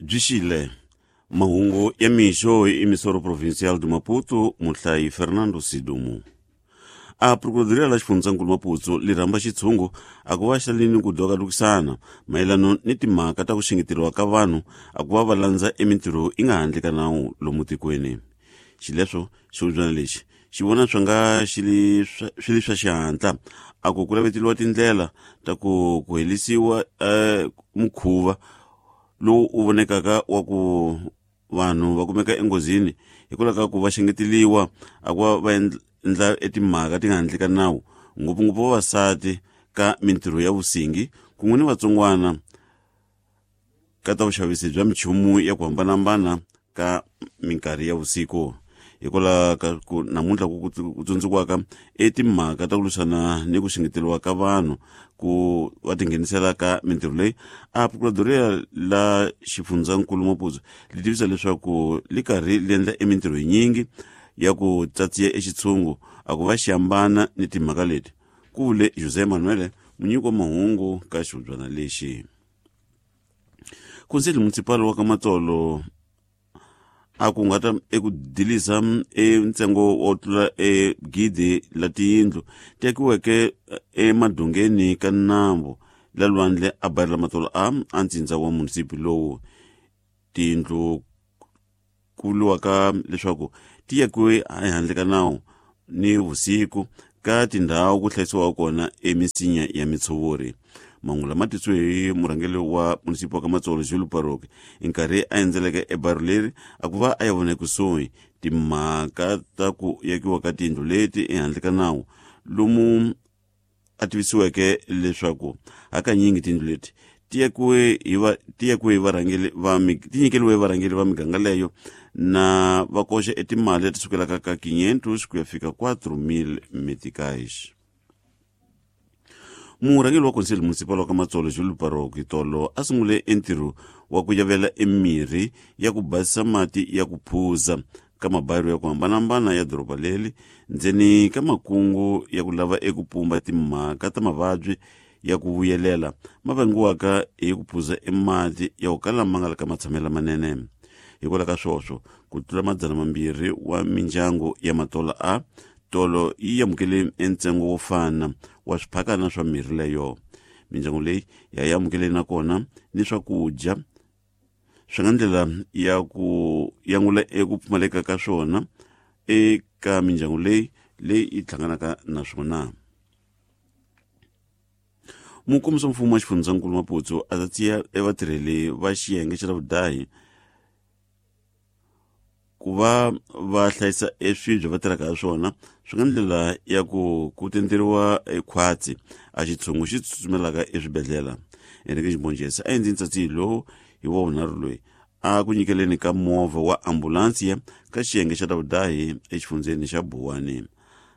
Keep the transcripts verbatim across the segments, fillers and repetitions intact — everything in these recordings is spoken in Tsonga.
Byi xile mahungu ya mixo hi Emissora Provincial de Maputo, muhlayi Fernando Sidumo. A Procuradoria la xifundzankulu Maputo li rhamba xitshungu a ku va xalini ku dokalukisana mayelano ni timhaka ta ku xengeteriwa ka vanhu a ku va va landza emintirho yi nga handle ka nawu lomu tikweni. Xileswo xihubyana lexi xi vona swi nga xi li swi li swa xihatla a ku ku laveteliwa tindlela ta ku ku helisiwa eh, mukhuva lowu u vonekaka wa ku vanhu va kumeka enghozini hikwalaho ka ku va xengeteliwa a ku va va endla etimhaka ti nga handle ka nawu, ngopfungopfu vavasati ka mintirho ya vusingi kun'we ni vatsongwana ka ta vuxavisi bya minchumu ya ku hambanahambana ka minkarhi ya vusiku. Hikwalaho ka ku namuntlha ku ku tsundzukiwaka etimhaka ta ku lwisana ni ku xengeteriwa ka vanhu ku va tinghenisela ka mintirho leyi, a Procuradoria la xifundzankulu Maputo li tivisa leswaku li karhi li endla emintirho yinyingi ya ku tsatsiya exitshungu a ku va xi hambana ni timhaka leti, ku vule José Manuel, munyiki wa mahungu ka xihubyana lexi. Conselho Municipal wa ka Matsolo a ku nga ta eku dilisa e ntsengo wo tlula e gidi la tiyindlu ti akiweke emadongeni ka nambu la lwandle a bayirela Matsolo a a ntsindza wa munisipi lowu. Tiyindlu ku vuriwaka leswaku ti akiwe ehandle ka nawu ni vusiku ka tindhawu ku hlayisiwaka kona emisinya ya mitshovori. Mahungu lama tisiwe hi murhangeri wa munisipi wa ka Matsolo Jules Paroki nkarhi a endzeleke ebaru leri a ku va a ya vona ekusuhi timhaka ta ku yakiwa ka tiyindlu leti ehandle ka nawu, lomu a tivisiweke leswaku hakanyingi tiyindlu leti ti yakiwe hi va ti yakiwe hi varhangeri va ti nyikeriwe hi varhangeri va miganga leyo na va koxa etimali leti sukelaka ka quinhentos ku ya fika quatro mil meticais. Murhangeri wa Conselho Municipal wa ka Matsolo Jules Paroki tolo a sungule entirho wa ku yavela emirhi ya ku basisa mati ya ku phuza ka mabayiro ya ku hambanahambana ya doroba leri ndzeni ka makungu ya ku lava eku pumba timhaka ta mavabyi ya ku vuyelela ma vangiwaka hi ku phuza emati ya ku kala ma nga le ka matshamelo lamanene. Hikwalaho ka swoswo ku tlula madzana mambirhi wa mindyangu ya Matola a tolo yi amukele entsengo wo fana wa swiphakana swa mirhi leyo. Mindyangu leyi ya yi amukele nakona ni swakudya swi nga ndlela ya ku yangula eku pfumaleka ka swona eka mindyangu leyi leyi yi hlanganaka na swona. Mukombisi wa mfumo wa xifundzankulu Maputo a tsatsiya evatirheli va xiyenge xa vudahi ku va va hlayisa eswibye va tirhaka ha swona swi nga ndlela ya ku ku tenderiwa ekhwatsi a xitshungu xi tsutsumelaka eswibedhlele. Enrique Ximbonjesi a endli ntsatsiyo lowu hi wa vunharhu loyi a ku nyikeleni ka movha wa ambulansiya ka xiyenge xa vudahi exifundzeni xa Buwani.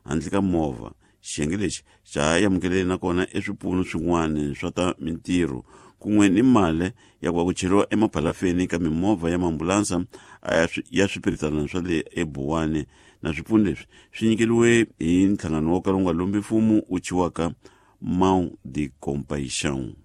Handle ka movha, xiyenge lexi xa amukeleni nakona eswipfuno swin'wana swa ta mintirho kun'we ni mali ya ku va ku cheriwa emaphalafeni ka mimovha ya maambulansa ya swipiritana swa le eBuwani. Na swipfuno leswi swi nyikeriwe hi nhlangano wo kala wu nga lombi mfumo wu thyiwaka Mão de Compaixão.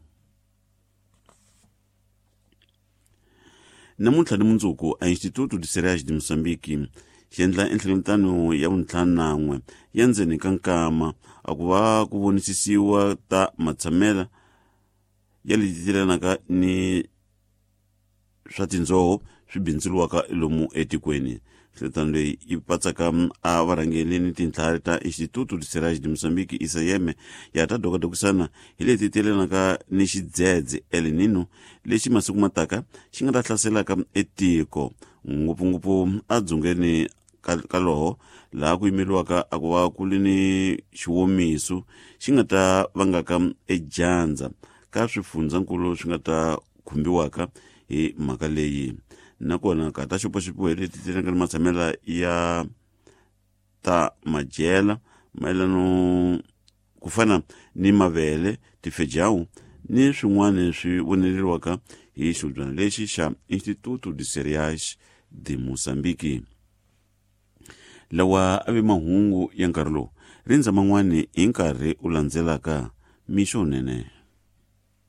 Namuntlha ni mundzuku a Instituto de Cereais de Moçambique xi endla enhlengeletano ya vuntlhanu nan'we ya ndzeni ka nkama a ku va ku vonisisiwa ta matshamela ya leti tirelanaka ni swa tindzoho swi bindzuriwaka lomu etikweni. Nhlengeletano leyi yi patsaka a varhangeri ni tintlhari ta Instituto de Cereais de Moçambique I C M ya ta dokodokisana hi leti tirelanaka ni xidzedze El Nino lexi masiku mataka xi nga ta hlaselaka etiko, ngopfungopfu edzongeni ka loho laha ku yimeriwaka a ku va ku ri ni xiwomiso xi nga ta vangaka edyandza ka swifundzankulu swi nga ta khumbiwaka hi mhaka leyi. Nakona ka ta xopaxopiwa hi leti ti ni matshamela ya ta madyela mayelano ku fana ni mavele, tifejawu ni swin'wana swi voneleriwaka hi xihubyana lexi xa Instituto de Cereais de Moçambique. Lawa a ve mahungu ya nkarhi lowu, rindza man'wani hi nkarhi u landzelaka. Mixo nene.